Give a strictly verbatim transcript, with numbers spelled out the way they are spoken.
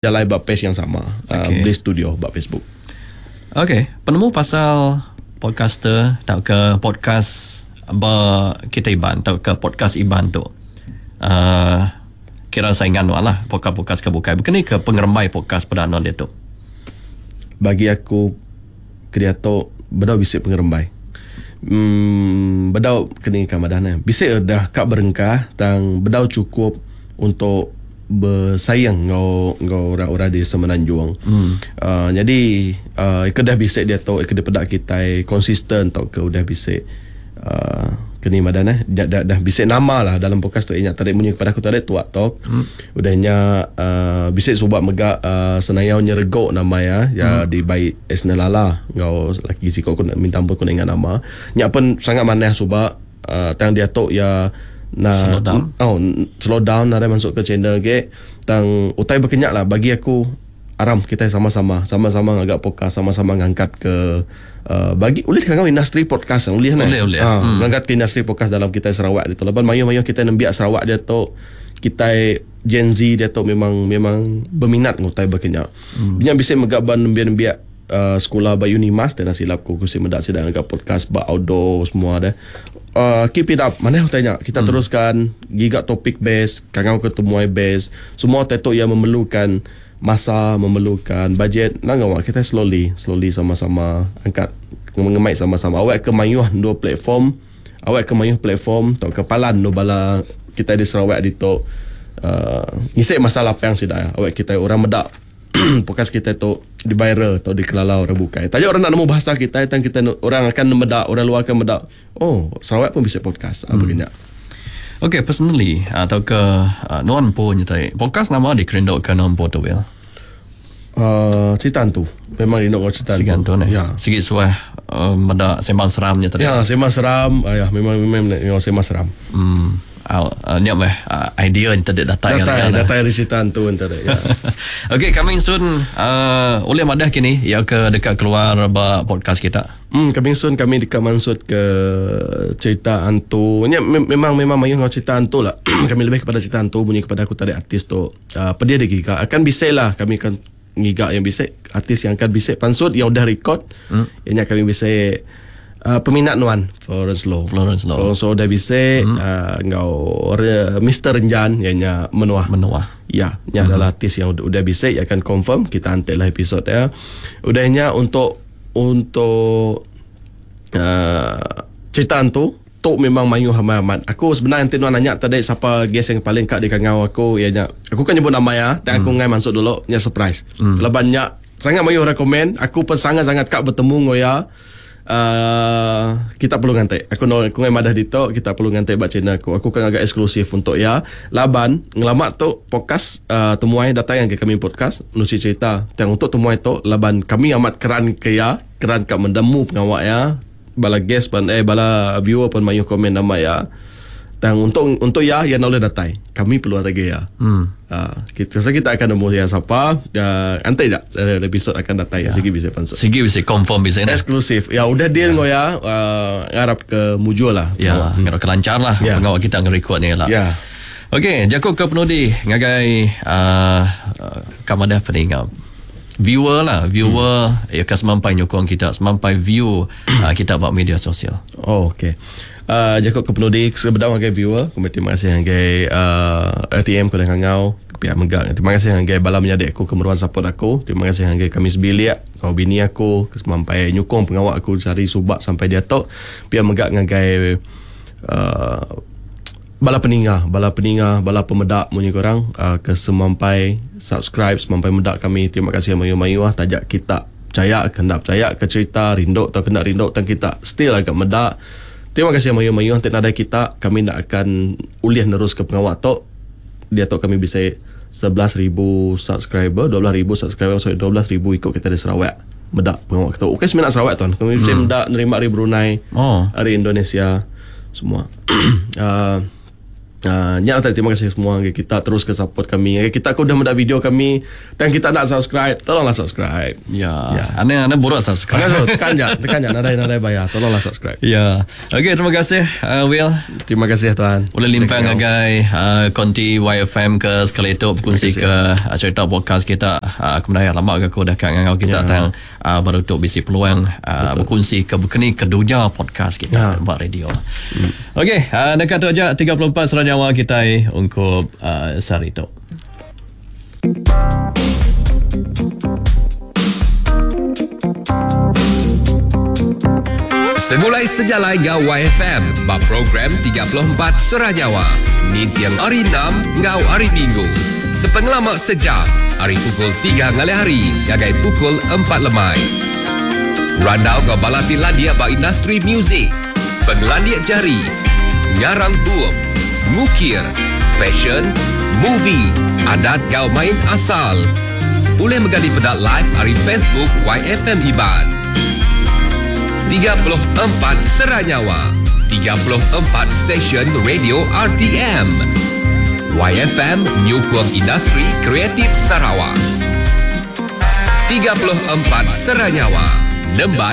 Jalai ba page yang sama, uh, Okay. Bliss Studio ba Facebook. Okay, penemu pasal podcaster tauka podcast ba kita Iban tauka podcast Iban tu. Uh, kira saingan nuan lah podcast-podcast ke bukai. Bukan ni ke pengerembai podcast pada nuan dia tu? Bagi aku kediato bedau bisik pengerembai. Hmm, bedau kini kamadan bisik dah kak berengkah tang bedau cukup untuk bersaing ngau ngau orang-orang di Semenanjung. Hmm. Uh, jadi uh, ke dah bisik dia tu ke pedak kita konsisten atau ke udah bisik uh, kini madan eh dah, dah, dah bisik nama lah dalam podcast tu ingat tarik bunyi kepada aku tarik tuak talk. Hmm. Udahnya uh, bisik subak megak uh, senayau nyeregok nama ya ya hmm. di baik Esna Lala ngau laki siko aku nak minta ampun aku nak ingat nama. Nyak pun sangat manah subak uh, tang dia tu ya na slow down. Oh, slow down ada masuk ke channel ke tang utai berkenyak lah bagi aku aram kita sama-sama sama-sama ngagak podcast sama-sama ngangkat ke uh, bagi ulih kangau industri podcast ulih nah. Ulih, ulih. Ha, hmm. Ngangkat ke industri podcast dalam kita Sarawak dia tu. Laban mayu-mayu kita nembiak Sarawak dia tu kita Gen Z dia tu memang memang berminat ngutai berkenyak. Hmm. Banyak bisa megak ban nembiak-nembiak uh, sekolah ba Unimas dan silap ku kursi mendak sedang agak podcast ba outdoor semua dah. Uh, keep it up. Mana aku tanya kita hmm. teruskan giga topik base, kangau ketemuai base, semua tetok yang memerlukan masa, memerlukan bajet. Nak ngawak kita slowly, slowly sama-sama angkat mengemai sama-sama. Awak ke mayuh dua platform, awak ke mayuh platform atau kepalan no bala kita di Sarawak di tu uh, ngisik masalah apa yang sida. Awak kita orang medak podcast kita tu di viral atau dikelala orang bukai. Tanya orang nak nemu bahasa kita, tang kita orang akan medak, orang luar akan medak. Oh, Sarawak pun bisa podcast. Hmm. Apa Okay, personally atau ke uh, nuan pun nyata podcast nama di kerindok ke nuan pun tu ya. Uh, cerita tu. Memang rindu kau cerita tu. Tu. Ya. Sikit suah uh, medak sembang seram nyata. Ya, sembang seram. Uh, ya, memang memang memang sembang seram. Hmm. Uh, uh, ni apa uh, idea yang tadi datang datang datang dari cerita tu entah ya. Okey, coming soon uh, oleh madah kini ya ke dekat keluar ba podcast kita. Hmm, coming soon kami dekat maksud ke cerita hantu. Ni memang memang mayu ngau cerita hantu lah. Kami lebih kepada cerita hantu bunyi kepada aku tadi artis tu. Uh, pedia dia giga akan bisa lah kami akan ngiga yang bisa artis yang akan bisa pansut yang udah record. Hmm. Yang kami bisa Uh, peminat nuan Florence Low. Florence Low. Florence Low dah bisa hmm. uh, ngau Mister Renjan ianya Menuah. Menuah. Ya, nya hmm. adalah artis yang udah, udah bisa ia akan confirm kita hantarlah episod ya. Udahnya untuk untuk uh, cerita tu tu memang mayu amat. Aku sebenarnya nanti nuan nanya tadi siapa guest yang paling kat di kangau aku ianya aku kan nyebut nama ya, tapi hmm. aku ngai masuk dulu nya surprise. Hmm. Lebannya sangat mayu rekomen, aku pun sangat-sangat kak bertemu ngoya. Uh, kita perlu ngantek. Aku no, aku ngai madah dito, kita perlu ngantek bak channel aku. Aku kan agak eksklusif untuk ya. Laban ngelamak tu podcast uh, temuai datang yang ke kami podcast nusi cerita. Yang untuk temuai tu laban kami amat keran ke ya, keran kat mendemu pengawak ya. Bala guest pun eh bala viewer pun mayu komen nama ya. Dan untuk untuk ya yang boleh datang. Kami perlu lagi ya. Hmm. Uh, kita so kita akan nemu ya siapa. Uh, nanti je episod akan datang ya. Sigi bisa pansut. Sigi bisa confirm bisa ni. Eksklusif. Ya udah deal ya. Ngo ya. Uh, ngarap ke mujur lah. Ya, hmm. ngarap ke lancar lah. Ya. Pengawal kita ngerekod ni lah. Ya. Okey, jakut ke penudi ngagai uh, kamadah peningap. Viewer lah, viewer hmm. ya ke semampai nyokong kita, semampai view uh, kita buat media sosial. Oh, okey. Uh, jakut ke penudi sebedau ngagai viewer, aku terima kasih ngagai uh, R T M ku dan ngau pihak megak. Terima kasih ngagai bala menyadik aku kemeruan support aku. Terima kasih ngagai kami sebilik, kau bini aku sampai nyukong pengawak aku cari subak sampai dia tok. Pihak megak ngagai uh, bala peninga, bala peninga, bala pemedak munyi korang uh, ke semampai subscribe, semampai medak kami. Terima kasih mayu-mayu ah tajak kita percaya ke nak percaya ke cerita rinduk atau kena rinduk tang kita still agak medak. Terima kasih mayu-mayu nanti nadai kita kami nak akan uliah nerus ke pengawak tok. Dia tok kami bisa sebelas ribu subscriber, dua belas ribu subscriber, sorry dua belas ribu ikut kita di Sarawak medak pengawak kita. Okey seminat Sarawak tuan. Kami bisa hmm. medak nerima dari Brunei, oh. dari Indonesia semua. uh, Uh, nya tadi terima kasih semua ke kita terus ke support kami. Kita aku udah mendak video kami dan kita nak subscribe, tolonglah subscribe. Ya. ya. Ane ane buruk subscribe. Ane tekan je, tekan je nadai nadai bayar. Tolonglah subscribe. Ya. Okey, terima kasih uh, Will. Terima kasih tuan. Boleh limpang ngagai uh, konti Y F M ke sekali itu berkongsi ke uh, cerita podcast kita. Uh, kemudian lama ke aku dah kat ngangau kita ya. Tang uh, baru tu bisi peluang uh, berkongsi ke berkeni ke dunia podcast kita ya. Buat radio. Hmm. Okey, uh, dekat tu aja tiga puluh empat seranjang nyawa kita untuk uh, sehari itu. Segulai sejalai ngau Y F M bab program tiga puluh empat Seranyawa. Nintiang hari enam ngau hari Minggu. Sepengelama sejam, hari pukul tiga ngalih hari, gagai pukul empat lemai. Randau ngau balati landia ba industri muzik, pengelandia jari, ngarang bup, ngukir, fashion, movie, adat gau main asal. Boleh menggali pedak live hari Facebook Y F M Iban. tiga puluh empat Seranyawa, tiga puluh empat stesen radio R T M. Y F M Nyukung Industri Kreatif Sarawak. tiga puluh empat Seranyawa, Nemban